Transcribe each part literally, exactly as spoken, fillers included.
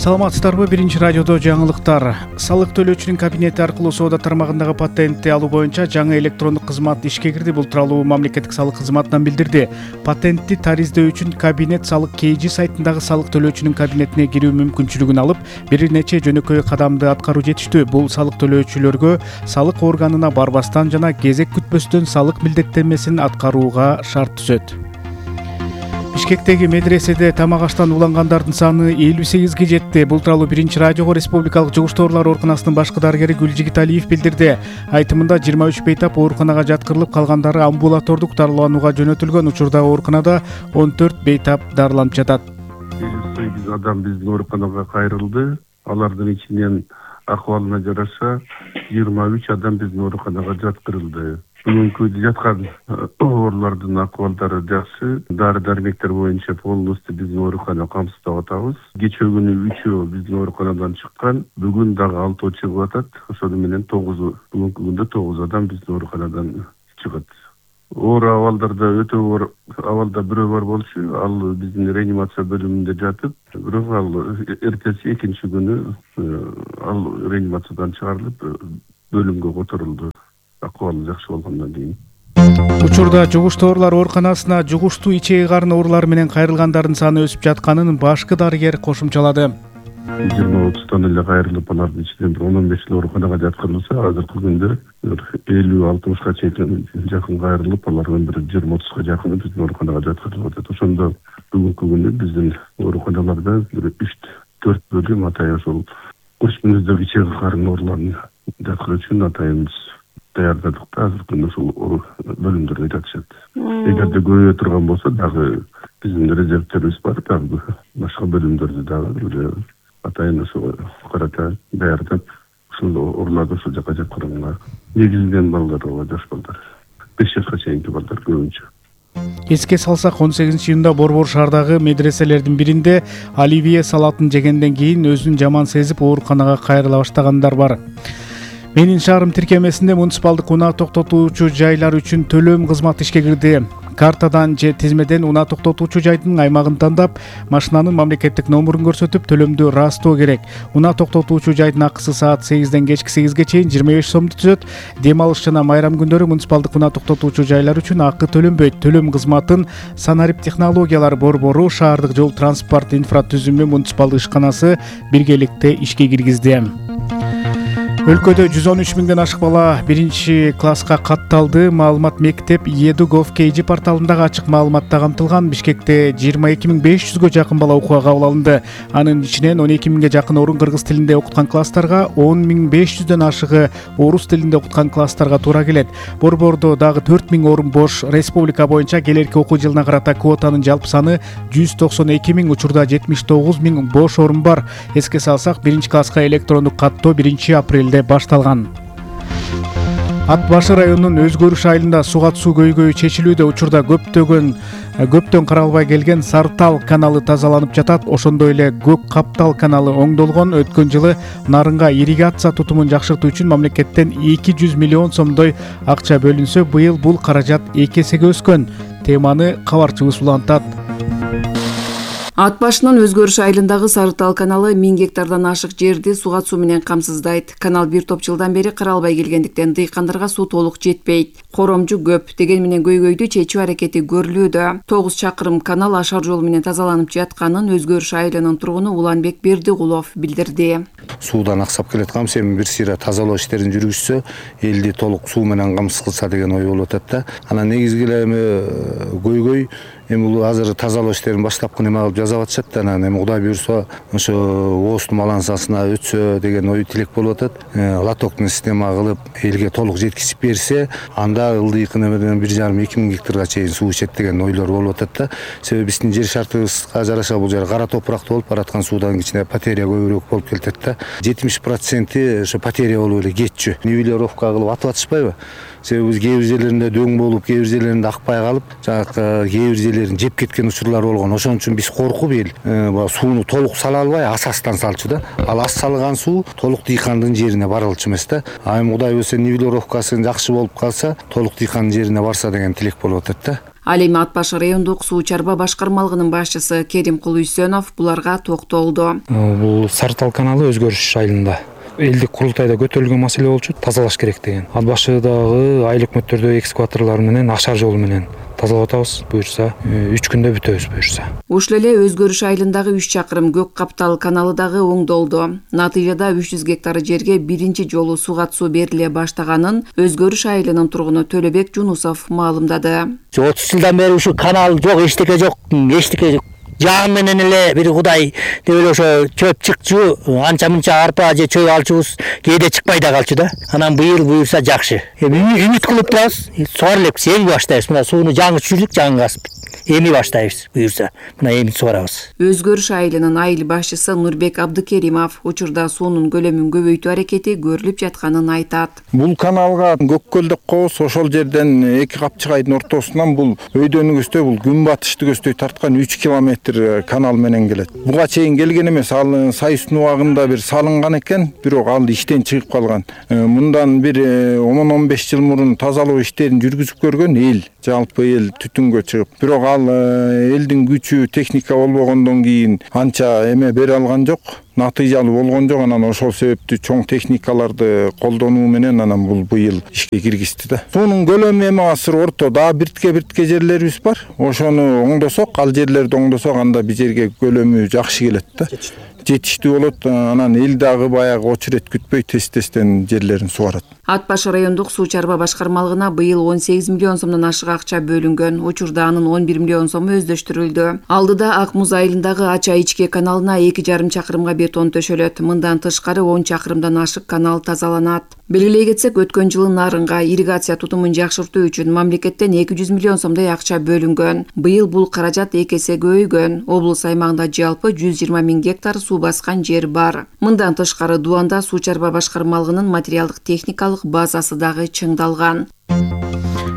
Саламатсыздарбы? Биринчи радиодо жаңылыктар. Салык төлөөчүнүн кабинети аркылуу соода тармагындагы патентти алуу боюнча жаңы электрондук кызмат ишке кирди. Бул тууралуу мамлекеттик салык кызматынан билдирди. Патентти тариздөө үчүн кабинет салык kg сайтындагы салык төлөөчүнүн кабинетине кирүү мүмкүнчүлүгүн алып, бир нече жөнөкөй кадамды аткаруу жетиштүү. Бул салык төлөөчүлөргө салык органына барбастан жана кезек күтпөстөн салык милдеттенмесин аткарууга шарт түзөт. Бишкектеги медреседе тамак аштан улангандардын саны элүү сегизге жетти. Бул тууралуу Биринчи радиого Республикалык жугуштуу оорулар ооруканасынын башкы дарыгери Гүлжигиталиев билдирди. Айтымында жыйырма үч бейтап ооруканага жаткырылып, калгандары амбулатордук дарыланууга жөнөтүлгөн. Учурда ооруканада он төрт бейтап дарыланып жатат. элүү сегиз адам биздин ооруканага кайрылды. Алардын ичинен акыбалына жараша жыйырма үч адам биздин ооруканага жаткырылды. Бүгүнкү жаткан оорулардын акыбалдары жакшы. Дары дармектер боюнча полностью биздин оорукана камсыздап атабыз. Кечээ күнү үчөө биздин ооруканадан чыккан, бүгүн дагы алтоо чыгып атат. Ошону менен тогуз, бүгүнкү күндө тогуз адам биздин ооруканадан чыгат. Оор абалдарда өтө оор абалда бирөө бар болчу. Ал биздин реанимация бөлүмүндө жатып, бирок ал эртеси экинчи күнү ал реанимациядан чыгарылып бөлүмгө которулду. Акыбалы жакшы болгондон кийин. Учурда жугуштуу оорулар ооруканасына жугуштуу ичеги карын оорулары менен кайрылгандардын саны өсүп жатканын башкы дарыгер кошумчалады. жыйырма отуздон эле кайрылып, алардын ичинен бир он он беш ооруканага жаткырылса, азыркы күндө элүү алтымышка чейин жакын кайрылып, алардын бир жыйырма отузга жакыны биздин ооруканага жаткырылып атат. Ошондо бүгүнкү күнү биздин ооруканаларда бир үч төрт бөлүм атайын ошол көчмөздөгү ичеги карын ооруларын жаткыруу үчүн атайын даярдадык да, азыркы күндө ушул бөлүмдөрдө жатышат. Эгерде көбөйө турган болсо дагы биздин резервтерибиз бар, дагы башка бөлүмдөрдү дагы атайын ошого карата даярдап, ушул ооруларды ушул жака жаткырганга негизинен балдар, жаш балдар, беш жашка чейинки балдар көбүнчө. Эске салсак, он сегизинчи июнда Борбор шаардагы медреселердин биринде оливье салатын жегенден кийин өзүн жаман сезип ооруканага кайрыла баштагандар бар. Менин шаарым тиркемесинде муниципалдык унаа токтотуучу жайлар үчүн төлөм кызматы ишке кирди. Картадан же тизмеден унаа токтотуучу жайдын аймагын тандап, машинанын мамлекеттик номурун көрсөтүп, төлөмдү ырастоо керек. Унаа токтотуучу жайдын акысы саат сегизден кечки сегизге чейин жыйырма беш сомду түзөт. Дем алыш жана майрам күндөрү муниципалдык унаа токтотуучу жайлар үчүн акы төлөнбөйт. Төлөм кызматын Санарип технологиялар борбору, шаардык жол транспорт инфратүзүмү муниципалдык ишканасы биргеликте ишке киргизди. Өлкөдө жүз он үч миңден ашык бала биринчи класска катталды. Маалымат мектеп edu.gov.kg порталындагы ачык маалыматта камтылган. Бишкекте жыйырма эки миң беш жүзгө жакын бала окууга кабыл алынды. Анын ичинен он эки миңге жакын орун кыргыз тилинде окуткан класстарга, он миң беш жүздөн ашыгы орус тилинде окуткан класстарга туура келет. Борбордо дагы төрт миң орун бош. Республика боюнча келерки окуу жылына карата квотанын жалпы саны жүз токсон эки миң, учурда жетимиш тогуз миң бош орун бар. Эске салсак, биринчи класска электрондук каттоо биринчи апрелде башталган. Ат башы районунун Өзгөрүш айылында сугат суу көйгөйү чечилүүдө. Учурда көптөгөн көптөн каралбай келген Сартал каналы тазаланып жатат. Ошондой эле Көк Каптал каналы оңдолгон. Өткөн жылы нарынга ирригация тутумун жакшыртуу үчүн мамлекеттен эки жүз миллион сомдой акча бөлүнсө, быйыл бул каражат эки эсеге өскөн. Теманы кабарчыбыз улантат. Ат башынын Өзгөрүш айылындагы Сарытал каналы миң гектардан ашык жерди сугат суу менен камсыздайт. Канал бир топ жылдан бери каралбай келгендиктен дыйкандарга суу толук жетпейт. Коромжу көп, деген менен көйгөйдү чечүү аракети көрүлүүдө. тогуз чакырым канал ашар жол менен тазаланып жатканын Өзгөрүш айылынын тургуну Уланбек Бердикулов билдирди. Суудан аксап келатканбыз, эми бир сыйра тазалоо иштерин жүргүзсө, элди толук суу менен камсыз кылса деген ой болуп атат да. Анан негизги эле эми көйгөй эми бул азыр тазалоо иштерин баштапкы неме кылып жасап атышат да, анан эми Кудай буюрса ошо ооздун балансасына өтсө деген ой тилек болуп атат. Лотоктун система кылып элге толук жеткизип берсе, анда ылдыйкы немеден бир жарым эки миң гектарга чейин суу ичет деген ойлор болуп атат да. Себеби биздин жер шартыбызга жараша бул жер кара топуракта болуп бараткан суудан кичине потеря көбүрөөк болуп келатат да. жетимиш проценти ошо потеря болуп эле кетчү. Нивелировка кылып атып атышпайбы? Себеби биз кээ бир жерлеринде дөң болуп, кээ бир жерлеринде акпай калып, жанагы кээ бир жерлерин жеп кеткен учурлар болгон. Ошон үчүн биз коркуп эл сууну толук сала албай, асастан салчу да. Ал ас салган суу толук дыйкандын жерине барылчу эмес да. А эми Кудай буюрса нивелировкасы жакшы болуп калса, толук дыйкандын жерине барса деген тилек болуп атат да. Ал эми Ат баш райондук суу чарба башкармалыгынын башчысы Керимкул Үсөнов буларга токтолду. Бул Сары Тал каналы өзгөрүш айылында элдик курултайда көтөрүлгөн маселе болчу, тазалаш керек деген. Ат башыдагы айыл өкмөттөрдө экскаваторлор менен ашар жол менен тазалап атабыз, буюрса үч күндө бүтөбүз буюрса. Ушул эле өзгөрүш айылындагы үч чакырым Көк Каптал каналы дагы оңдолду. Натыйжада үч жүз гектар жерге биринчи жолу суга суу бериле баштаганын өзгөрүш айылынын тургуну Төлөбек Жунусов маалымдады. отуз жылдан бери ушул канал жок, эчтеке жок, эчтеке жок. Жаан менен эле бир Кудай деп эле ошо чөп чыкчу, анча мынча арпа же чөй алчубуз, кээде чыкпай да калчу да. Анан быйыл буюрса жакшы. Эми үмүт кылып турабыз. Сугара элекпиз, эми баштайбыз. Мына сууну жаңы түшүрдүк, жаңы касып. Эми баштайбыз буюрса. Мына эми сугарабыз. Өзгөрүш айылынын айыл башчысы Нурбек Абдыкеримов учурда суунун көлөмүн көбөйтүү аракети көрүлүп жатканын айтат. Бул каналга Көк көл деп коебуз, ошол жерден эки капчыгайдын ортосунан бул өйдөнүгүздөй бул күн батыштыгөздөй тарткан үч километр канал менен келет. Буга чейин келген эмес, ал Сайыстын убагында бир салынган экен, бирок ал иштен чыгып калган. Мындан бир он он беш жыл мурун тазалоо иштерин жүргүзүп көргөн эл, жалпы эл түтүнгө чыгып. Бирок ал элдин күчү, техника болбогондон кийин анча эме бере алган жок. Натыйжалуу болгон жок. Анан ошол себептүү чоң техникаларды колдонуу менен анан бул быйыл ишке киргизди да. Суунун көлөмү эми азыр орто, дагы биртке биртке жерлерибиз бар. Ошону оңдосок, ал жерлерди оңдосок, анда биз жерге көлөмү жакшы келет да. Жетиштүү болот. Анан эл дагы баягы очерет күтпөй тез-тезден жерлерин сугарат. Ат баш райондук суу чарба башкармалыгына быйыл он сегиз миллион сомдон ашык акча бөлүнгөн. Учурда анын он бир миллион сому өздөштүрүлдү. Алдыда Ак Муз айылындагы Ача ичке каналына эки жарым чакырымга бетон төшөлөт. Мындан тышкары он чакырымдан ашык канал тазаланат. Белгилей кетсек, өткөн жылы нарынга ирригация тутумун жакшыртуу үчүн мамлекеттен эки жүз миллион сомдой акча бөлүнгөн. Быйыл бул каражат эки эсе көбөйгөн. Облус аймагында жалпы жүз жыйырма миң гектар суу баскан жер бар. Мындан тышкары Дуанда суу чарба башкармалыгынын материалдык техникалык базасы дагы чыңдалган.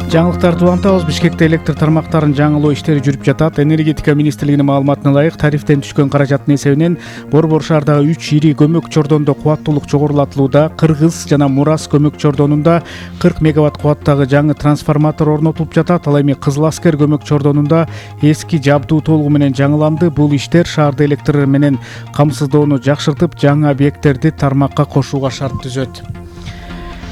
Жаңылыктарды улантабыз. Бишкекте электр тармактарын жаңылоо иштери жүрүп жатат. Энергетика министрлигинин маалыматына ылайык, тарифтен түшкөн каражаттын эсебинен Борбор шаардагы үч ири көмөк чордондо кубаттуулук жогорулатылууда. Кыргыз жана Мурас көмөк чордонунда кырк мегаватт кубаттагы жаңы трансформатор орнотулуп жатат. Ал эми Кызыл Аскер көмөк чордонунда эски жабдуу толугу менен жаңыланды. Бул иштер шаарды электр менен камсыздоону жакшыртып, жаңы объекттерди тармакка кошууга шарт түзөт.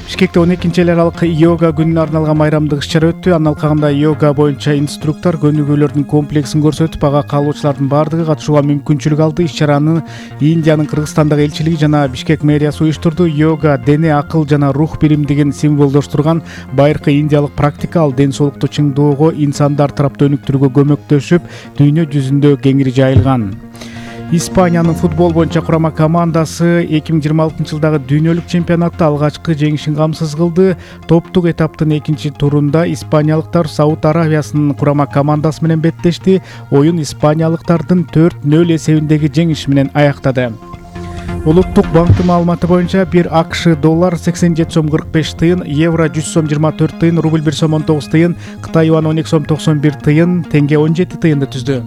Бишкекте он экинчи эл аралык йога күнүнө арналган майрамдык иш-чара өттү. Анын алкагында йога боюнча инструктор көнүгүүлөрдүн комплексин көрсөтүп, ага каалоочулардын бардыгы катышууга мүмкүнчүлүк алды. Иш-чараны Индиянын Кыргызстандагы элчилиги жана Бишкек мэриясы уюштурду. Йога дене, акыл жана рух биримдигин символдоштурган байыркы индиялык практика. Ал ден соолукту чыңдоого, инсандар тараптуу өнүктүрүүгө көмөктөшүп, дүйнө жүзүндө кеңири жайылган. Испаниянын футбол боюнча курама командасы эки миң жыйырма алтынчы жылдагы дүйнөлүк чемпионатта алгачкы жеңишин камсыз кылды. Топтук этаптын экинчи турунда испаниялыктар Сауд Аравиясынын курама командасы менен беттешти. Оюн испаниялыктардын төрт нөл эсебиндеги жеңиш менен аяктады. Улуттук банктын маалыматы боюнча бир АКШ доллар сексен жети сом кырк беш тыйын, евро жүз сом жыйырма төрт тыйын, рубль бир сом он тогуз тыйын, Кытай юан он эки сом токсон бир тыйын, тенге он жети тыйынды түздү.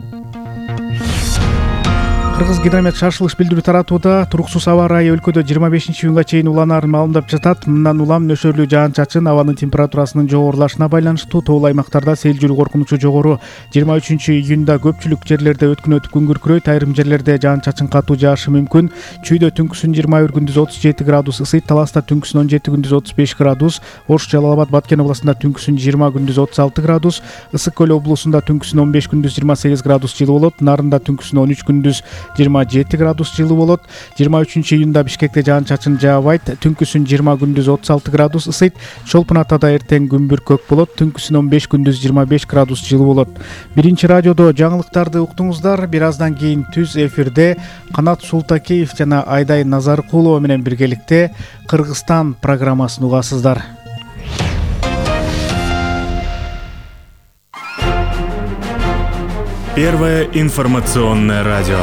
Кыргыз гидромет шашылыш билдирүү таратууда. Туруксуз аба ырайы өлкөдө жыйырма бешинчи июнга чейин уланаарын маалымдап жатат. Мындан улам нөшөрлүү жаан-чачын, абанын температурасынын жогорулашына байланыштуу. Тоол аймактарда сел жүрүү коркунучу жогору. жыйырма үчүнчү июнда көпчүлүк жерлерде өткүн өтүп күн күркүрөйт. Айрым жерлерде жаан-чачын катуу жаашы мүмкүн. Чүйдө түнкүсүн жыйырма бир, күндүз отуз жети градус ысыйт. Таласта түнкүсүн он жети, күндүз отуз беш градус. Ош, Жалал Абад, Баткен областында түнкүсүн жыйырма, күндүз отуз алты градус. Ысык көл облусунда түнкүсүн он беш, күндүз жыйырма сегиз градус жылы болот. Нарында түнкүсүн он үч, күндүз жыйырма жети градус жылы болот. жыйырма үчүнчү июнда Бишкекте жаан-чачын жаабайт. Түнкүсүн жыйырма, күндүз отуз алты градус ысыйт. Чолпун Атада эртең күн бүркөк болот. Түнкүсүн он беш, күндүз жыйырма беш градус жылы болот. Биринчи радиодо жаңылыктарды уктуңуздар. Бир аздан кийин түз эфирде Канат Султакеев жана Айдай Назаркулова менен биргеликте Кыргызстан программасын угасыздар. Первое информационное радио.